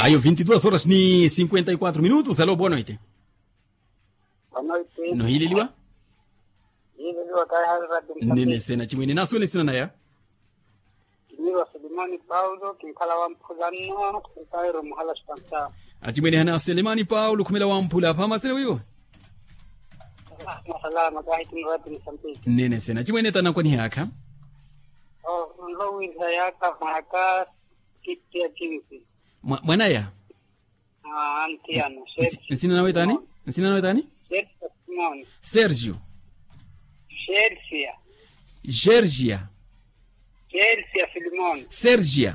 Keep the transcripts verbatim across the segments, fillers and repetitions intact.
Ayo vinti duas horas ni cinquenta y quatro minutos alo boa noite. Nohiileliwa. Nene sena chimwene nasuwela esina naya. Achimwene hana selemani paulo khumela wamphula phamasene wiwo. Nene sena achimwene tanakwaniha yaakha. Mwanaya. Nsina nawe tani? Nsina nawe tani? Sergio. Sergio. Sergio.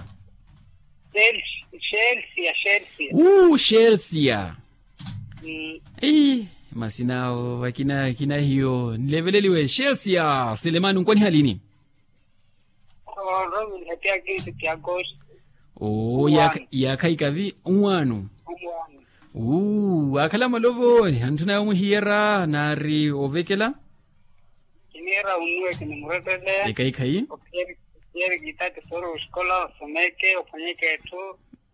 Uu shelsia. Ei, masina awo vakina kina hiyo nileveleliwe shelsia selemani onkwaniha lini? Oo yaakha ikavi onwaano. Uu waakhala malovo anthu naye omuhiyera naari ovekela. Kiniira unnuwe kinimurettele. Ekhayi-khayi. Ophiyerikitati soori oxikola osomeke ophwanyeke etthu.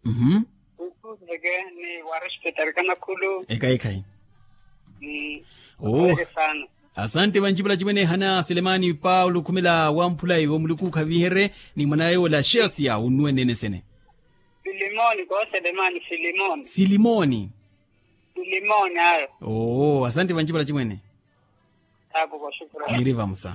Uhum. Ukhuzeke ni warespetari kanakhulu. Ekhayi-khayi. Oo. Asante vanci vula cimwene hana selemani paulo khumela wamphula iwo muluku khaviherye. Ni mwanaye ola shelsia unnuwe nene sene. Silimoni ko selemani silimoni. Silimoni. Silimoni ayo. Oo asante vanci vula cimwene. Miri vamusa.